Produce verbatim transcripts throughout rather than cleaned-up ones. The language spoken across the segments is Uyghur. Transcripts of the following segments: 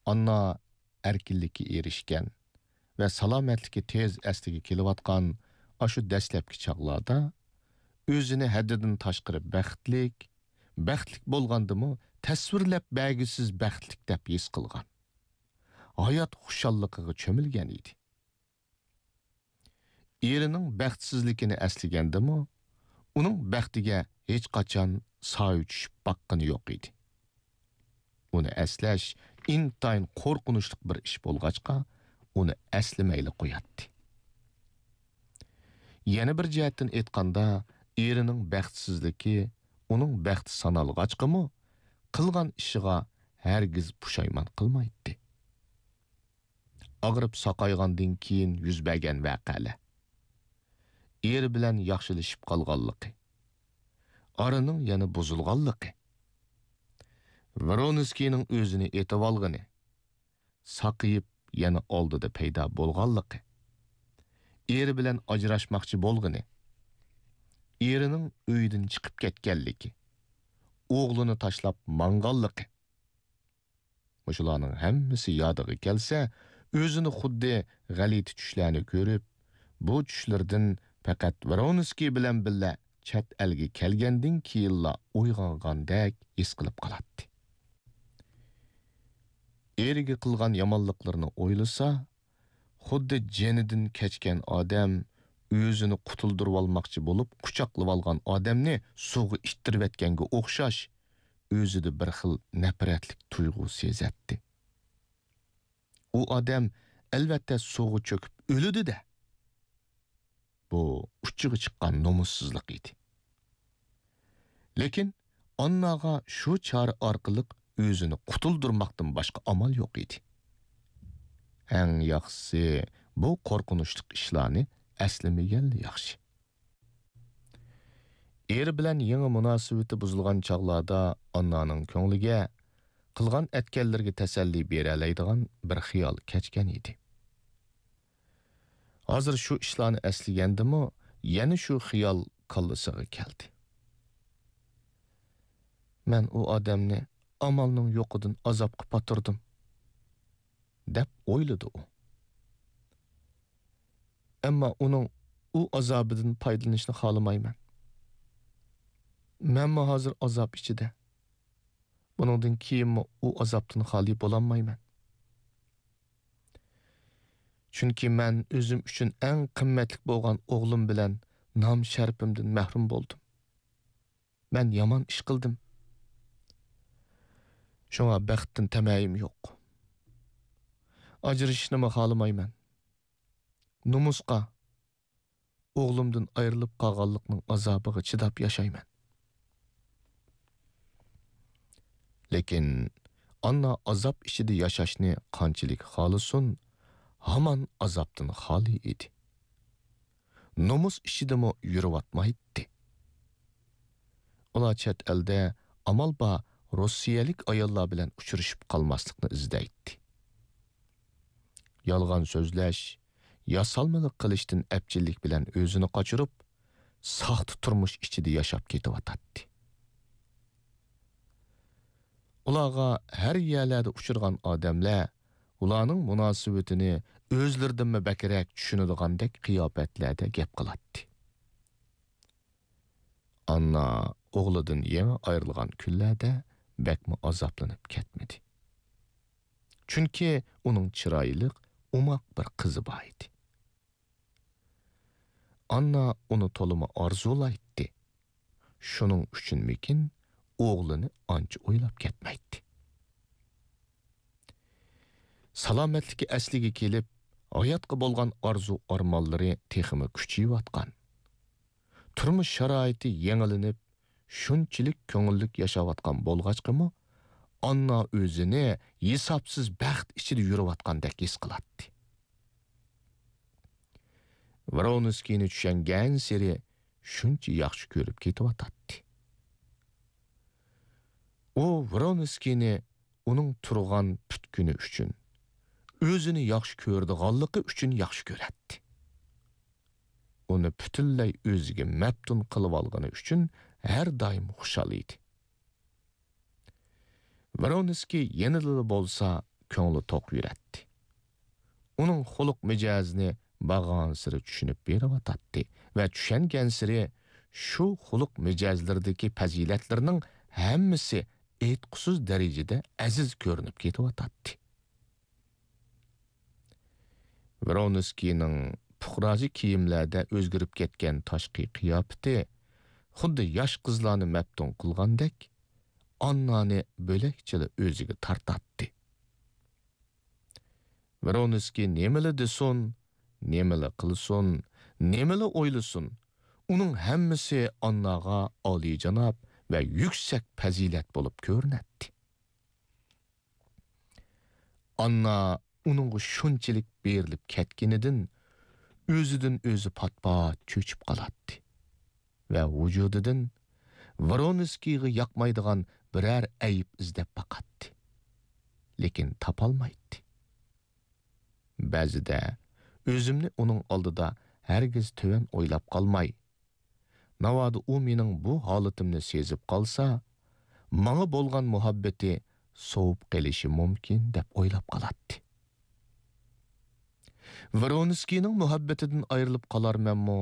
ئاننا ئەركىنلىككە ئېرىشكەن ۋە سالامەتلىكى تېز ئەسلىگە كېلىۋاتقان ئاشۇ دەسلەپكى چاغلاردا ئۆزىنى ھەددىدىن تاشقىرى بەختلىك، بەختلىك بولغاندىمۇ تەسۋىرلەپ بەرگۈسىز بەختلىك دەپ ھېس قىلغان. ھايات خۇشاللىقىغا چۆمۈلگەن ئىدى. ئېرىنىڭ بەختسىزلىكىنى ئەسلىگەندىمۇ، ئۇنىڭ بەختىگە ھېچقاچان سايە چۈشۈپ باققىنى يوق ئىدى. ئۇنى ئەسلەش ئىنتايىن قورقۇنچلۇق بىر ئىش بولغاچقا، ئۇنى ئەسلىمەيلا قوياتتى. يەنە بىر جەھەتتىن ئېيتقاندا، ئېرىنىڭ بەختسىزلىكى ئۇنىڭ بەختى سانالغاچقىمۇ، قىلغان ئىشىغا ھەرگىز پۇشايمان قىلمايتتى. ئاغرىپ ساقايغاندىن كېيىن يۈز بەرگەن ۋەقەلەر. ئېرى بىلەن ياخشىلىشىپ قالغانلىقى. ئارىنىڭ يەنە بۇزۇلغانلىقى. ۋرونسكىينىڭ ئۆزىنى ئېتىۋالغىنى. ساقىيىپ يەنە ئالدىدا پەيدا بولغانلىقى. ئېرى بىلەن ئاجراشماقچى بولغىنى. ئېرىنىڭ ئۆيدىن چىقىپ كەتكەنلىكى. ئوغلىنى تاشلاپ ماڭغانلىقى. مۇشۇلارنىڭ ھەممىسى يادىغا كەلسە، ئۆزىنى خۇددى غەلىتە چۈشلەرنى كۆرۈپ، بۇ چۈشلىرىدىن پەقەت ۋرونسكىي بىلەن بىللە چەت ئەلگە كەلگەندىن كېيىنلا ئويغانغاندەك ھېس قىلىپ قالاتتى. ئېرىگە قىلغان يامانلىقلىرىنى ئويلىسا، خۇددى جېنىدىن كەچكەن ئادەم ئۆزىنى قۇتۇلدۇرۇۋالماقچى بولۇپ قۇچاقلىۋالغان ئادەمنى سۇغا ئىتتىرىۋەتكەنگە ئوخشاش، ئۆزىدە بىر خىل نەپرەتلىك تۇيغۇ سېزەتتى. ئۇ ئادەم ئەلۋەتتە سۇغا چۆكۈپ ئۆلىدۇ-دە. بۇ ئۇچىغا چىققان نومۇسسىزلىق ئىدى. لېكىن ئانناغا شۇ چارە ئارقىلىق ئۆزىنى قۇتۇلدۇرماقتىن باشقا ئامال يوق ئىدى. ئەڭ ياخشىسى، بۇ قورقۇنچلۇق ئىشلارنى ئەسلىمىگەنلا ياخشى. ئېرى بىلەن يېڭى مۇناسىۋىتى بۇزۇلغان چاغلاردا ئاننانىڭ كۆڭلىگە قىلغان ئەتكەنلىرىگە تەسەللى بېرەلەيدىغان بىر خىيال كەچكەن ئىدى. ھازىر شۇ ئىشلارنى ئەسلىگەندىمۇ، يەنە شۇ خىيال كاللىسىغا كەلدى. «مەن ئۇ ئادەمنى ئامالنىڭ يوقىدىن ئازابقا پاتۇردۇم» دەپ ئويلىدى ئۇ. «ئەمما ئۇنىڭ ئۇ ئازابىدىن پايدىلىنىشنى خالىمايمەن. مەنمۇ ھازىر ئازاب ئىچىدە. بۇنىڭدىن كېيىنمۇ ئۇ ئازابتىن خالىي بولالمايمەن. چۈنكى مەن ئۆزۈم ئۈچۈن ئەڭ قىممەتلىك بولغان ئوغلۇم بىلەن نام-شەرىپىمدىن مەھرۇم بولدۇم. مەن يامان ئىش قىلدىم. شۇڭا بەختتىن تەمەيىم يوق. ئاجرىشىشنىمۇ خالىمايمەن. نومۇسقا، ئوغلۇمدىن ئايرىلىپ قالغانلىقنىڭ ئازابىغا چىداپ ياشايمەن.» لېكىن ئاننا ئازاب ئىچىدە ياشاشنى قانچىلىك خالىسۇن، ھامان ئازابتىن خالىي ئىدى. نومۇس ئىچىدىمۇ يۈرۈۋاتمايتتى. ئۇلار چەت ئەلدە ئامال بار روسىيەلىك ئاياللار بىلەن ئۇچرىشىپ قالماسلىقنى ئىزدەيتتى. يالغان سۆزلەش، ياسالمىلىق قىلىشتىن ئەپچىللىك بىلەن ئۆزىنى قاچۇرۇپ، ساختا تۇرمۇش ئىچىدە ياشاپ كېتىۋاتاتتى. ئۇلارغا ھەر يەرلەردە ئۇچرىغان ئادەملەر ئۇلارنىڭ مۇناسىۋىتىنى ئۆزلىرىدىنمۇ بەكرەك چۈشىنىدىغاندەك قىياپەتلەردە گەپ قىلاتتى. ئاننا ئوغلىدىن يېڭى ئايرىلغان كۈنلەردە بەكمۇ ئازابلىنىپ كەتمىدى. چۈنكى ئۇنىڭ چىرايلىق، ئوماق بىر قىزى بار ئىدى. ئاننا ئۇنى تولىمۇ ئارزۇلايتتى. شۇنىڭ ئۈچۈنمىكىن، ئوغلىنى ئانچە ئويلاپ كەتمەيتتى. سالامەتلىكى ئەسلىگە كېلىپ، ھاياتقا بولغان ئارزۇ-ئارمانلىرى تېخىمۇ كۈچىيىۋاتقان. تۇرمۇش شارائىتى يېڭىلىنىپ، شۇنچىلىك كۆڭۈللۈك ياشاۋاتقان بولغاچقىمۇ، ئاننا ئۆزىنى ھېسابسىز بەخت ئىچىدە يۈرۈۋاتقاندەك ھېس قىلاتتى. ۋرونسكىينى چۈشەنگەنسېرى شۇنچە ياخشى كۆرۈپ كېتىۋاتاتتى. ئۇ ۋرونسكىينى ئۇنىڭ تۇرغان پۈتكۈنى ئۈچۈن، ئۆزىنى ياخشى كۆرىدىغانلىقى ئۈچۈن ياخشى كۆرەتتى. ئۇنى پۈتۈنلەي ئۆزىگە مەپتۇن قىلىۋالغىنى ئۈچۈن ھەر دائىم خۇشال ئىدى. ۋرونسكىي يەنىلا بولسا كۆڭلى توق يۈرەتتى. ئۇنىڭ خۇلق مىجەزىنى بارغانسېرى چۈشىنىپ بېرىۋاتاتتى ۋە چۈشەنگەنسېرى شۇ خۇلق مىجەزلىرىدىكى پەزىلەتلىرىنىڭ ھەممىسى ئېيتقۇسىز دەرىجىدە ئەزىز كۆرۈنۈپ كېتىۋاتاتتى. ۋرونسكىينىڭ پۇقراچە كىيىملەردە ئۆزگىرىپ كەتكەن تاشقى قىياپىتى خۇددى ياش قىزلارنى مەپتۇن قىلغاندەك، ئاننانى بۆلەكچىلا ئۆزىگە تارتاتتى. ۋرونسكىي نېمىلا دېسۇن، نېمىلا قىلسۇن، نېمىلا ئويلىسۇن، ئۇنىڭ ھەممىسى ئانناغا ئالىيجاناب ۋە يۈكسەك پەزىلەت بولۇپ كۆرۈنەتتى. ئاننا ئۇنىڭغا شۇنچىلىك بېرىلىپ كەتكىنىدىن ئۆزىدىن ئۆزى پات-پات چۆچۈپ قالاتتى ۋە ۋۇجۇدىدىن ۋرونسكىيغا ياقمايدىغان بىرەر ئەيىب ئىزدەپ باقاتتى. لېكىن تاپالمايتتى. بەزىدە ئۆزۈمنى ئۇنىڭ ئالدىدا ھەرگىز تۆۋەن ئويلاپ قالماي، ناۋادا ئۇ مېنىڭ بۇ ھالىتىمنى سېزىپ قالسا، ماڭا بولغان مۇھەببىتى سوۋۇپ قېلىشى مۇمكىن دەپ ئويلاپ قالاتتى. ۋرونسكىينىڭ مۇھەببىتىدىن ئايرىلىپ قالارمەنمۇ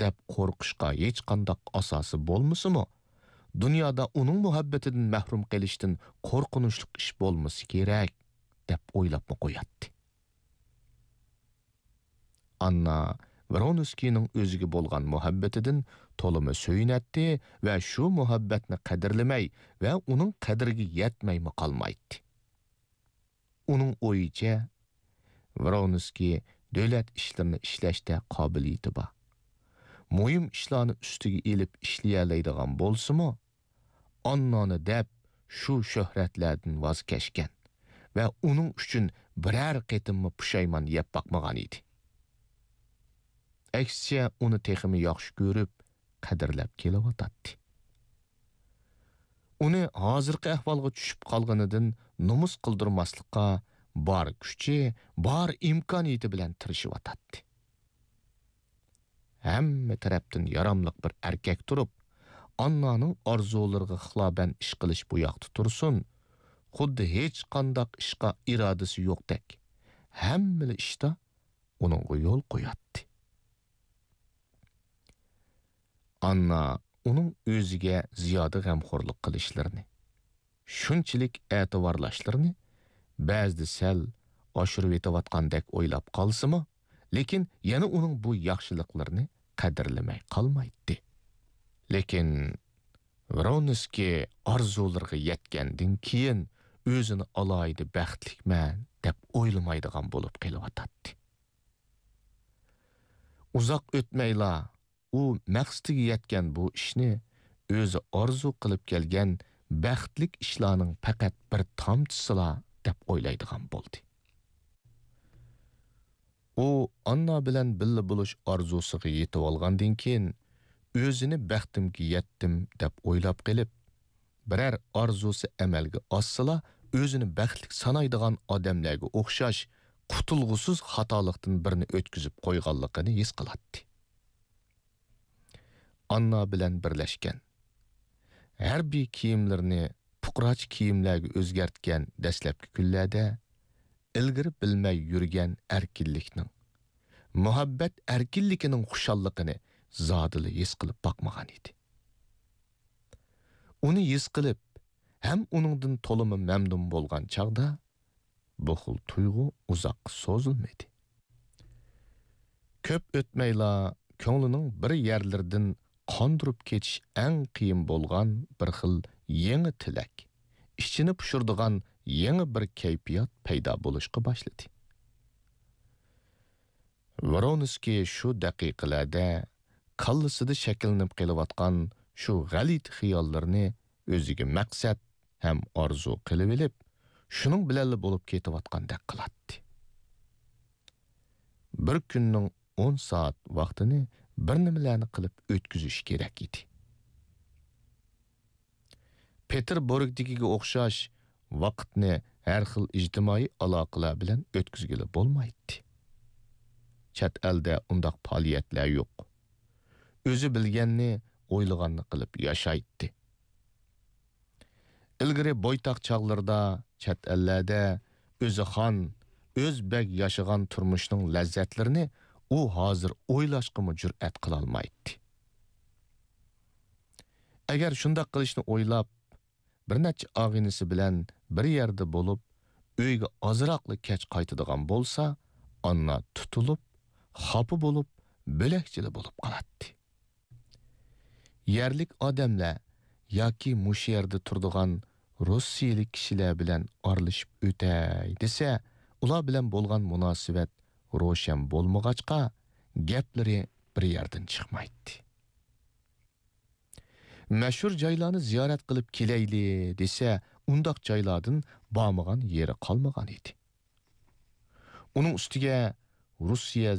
دەپ قورقۇشقا ھېچقانداق ئاساسى بولمىسىمۇ، دۇنيادا ئۇنىڭ مۇھەببىتىدىن مەھرۇم قېلىشتىن قورقۇنچلۇق ئىش بولمىسا كېرەك دەپ ئويلاپمۇ قوياتتى. ئاننا ۋرونسكىينىڭ ئۆزىگە بولغان مۇھەببىتىدىن تولىمۇ سۆيۈنەتتى ۋە شۇ مۇھەببەتنى قەدىرلىمەي ۋە ئۇنىڭ قەدرىگە يەتمەيمۇ قالمايتتى. ئۇنىڭ ئويىچە، ۋرونسكىي دۆلەت ئىشلىرىنى ئىشلەشتە قابىلىيىتى بار. مۇھىم ئىشلارنى ئۈستىگە ئېلىپ ئىشلىيەلەيدىغان بولسىمۇ، ئاننانى دەپ شۇ شۆھرەتلەردىن ۋاز كەچكەن ۋە ئۇنىڭ ئۈچۈن بىرەر قېتىممۇ پۇشايمان يەپ باقمىغان ئىدى. ئەكسىچە، ئۇنى تېخىمۇ ياخشى كۆرۈپ، قەدىرلەپ كېلىۋاتاتتى. ئۇنى ھازىرقى ئەھۋالغا چۈشۈپ قالغىنىدىن نومۇس قىلدۇرماسلىققا بار كۈچى، بار ئىمكانىيىتى بىلەن تىرىشىۋاتاتتى. ھەممە تەرەپتىن ياراملىق بىر ئەركەك تۇرۇپ، ئاننانىڭ ئارزۇلىرىغا خىلاپەن ئىش قىلىش بۇ ياقتا تۇرسۇن، خۇددى ھېچقانداق ئىشقا ئىرادىسى يوقتەك، ھەممىلا ئىشتا ئۇنىڭغا يول قوياتتى. ئاننا ئۇنىڭ ئۆزىگە زىيادە غەمخورلۇق قىلىشلىرىنى، شۇنچىلىك ئەتىۋارلاشلىرىنى بەزىدە سەل ئاشۇرۇۋېتىۋاتقاندەك ئويلاپ قالسىمۇ، لېكىن يەنە ئۇنىڭ بۇ ياخشىلىقلىرىنى قەدىرلىمەي قالمايتتى. لېكىن ۋرونسكىي ئارزۇلىرىغا يەتكەندىن كېيىن ئۆزىنى ئالاھىدە بەختلىكمەن دەپ ئويلىمايدىغان بولۇپ قېلىۋاتاتتى. ئۇزاق ئۆتمەيلا ئۇ مەقسىتىگە يەتكەن بۇ ئىشنى ئۆزى ئارزۇ قىلىپ كەلگەن بەختلىك ئىشلارنىڭ پەقەت بىر تامچىسىلا دەپ ئويلايدىغان بولدى. ئۇ ئاننا بىلەن بىللە بولۇش ئارزۇسىغا يېتىۋالغاندىن كېيىن، ئۆزىنى بەختىمگە يەتتىم دەپ ئويلاپ قېلىپ، بىرەر ئارزۇسى ئەمەلگە ئاشسىلا، ئۆزىنى بەختلىك سانايدىغان ئادەملەرگە ئوخشاش قۇتۇلغۇسىز خاتالىقتىن بىرنى ئۆتكۈزۈپ قويغانلىقىنى ھېس قىلاتتى. ئاننا بىلەن بىرلەشكەن، ھەربىي كىيىملىرىنى پۇقراچە كىيىملەرگە ئۆزگەرتكەن دەسلەپكى كۈنلەردە ئىلگىرى بىلمەي يۈرگەن ئەركىنلىكنىڭ، مۇھەببەت ئەركىنلىكىنىڭ خۇشاللىقىنى زادىلا ھېس قىلىپ باقمىغان ئىدى. ئۇنى ھېس قىلىپ، ھەم ئۇنىڭدىن تولىمۇ مەمنۇن بولغان چاغدا، بۇ خىل تۇيغۇ ئۇزاققا سوزۇلمىدى. كۆپ ئۆتمەيلا، كۆڭلىنىڭ بىر يەرلىرىدىن قاندۇرۇپ كېتىش ئەڭ قىيىن بولغان بىر خىل يېڭى تىلەك، ئىچىنى پۇشۇرىدىغان يېڭى بىر كەيپىيات پەيدا بولۇشقا باشلىدى. ۋرونسكىي شۇ دەقىقىلەردە كاللىسىدا شەكىللىنىپ قېلىۋاتقان شۇ غەلىتە خىياللىرىنى ئۆزىگە مەقسەت ھەم ئارزۇ قىلىۋېلىپ، شۇنىڭ بىلەنلا بولۇپ كېتىۋاتقاندەك قىلاتتى. بىر كۈننىڭ ئون سائەت ۋاقتىنى بىر نېمىلەرنى قىلىپ ئۆتكۈزۈش كېرەك ئىدى. پېتېربۇرگدىكىگە ئوخشاش ۋاقىتنى ھەر خىل ئىجتىمائىي ئالاقىلەر بىلەن ئۆتكۈزگىلى بولمايتتى. چەت ئەلدە ئۇنداق پائالىيەتلەر يوق. ئۆزى بىلگەننى، ئويلىغاننى قىلىپ ياشايتتى. ئىلگىرى بويتاق چاغلىرىدا چەت ئەللەردە ئۆزى خان، ئۆز بەگ ياشىغان تۇرمۇشنىڭ لەززەتلىرىنى ئۇ ھازىر ئويلاشقىمۇ جۈرئەت قىلالمايتتى. ئەگەر شۇنداق قىلىشنى ئويلاپ، بىر نەچچە ئاغىنىسى بىلەن بىر يەردە بولۇپ، ئۆيگە ئازراقلا كەچ قايتىدىغان بولسا، ئاننا تۇتۇلۇپ، خاپا بولۇپ، بۆلەكچىلا بولۇپ قالاتتى. يەرلىك ئادەملەر ياكى مۇشۇ يەردە تۇرىدىغان روسىيەلىك كىشىلەر بىلەن ئارىلىشىپ ئۆتەي دېسە، ئۇلار بىلەن بولغان مۇناسىۋەت روشەن بولمىغاچقا، گەپلىرى بىر يەردىن چىقمايتتى. مەشھۇر جايلارنى زىيارەت قىلىپ كېلەيلى دېسە، ئۇنداق جايلاردىن بارمىغان يېرى قالمىغان ئىدى. ئۇنىڭ ئۈستىگە روسىيە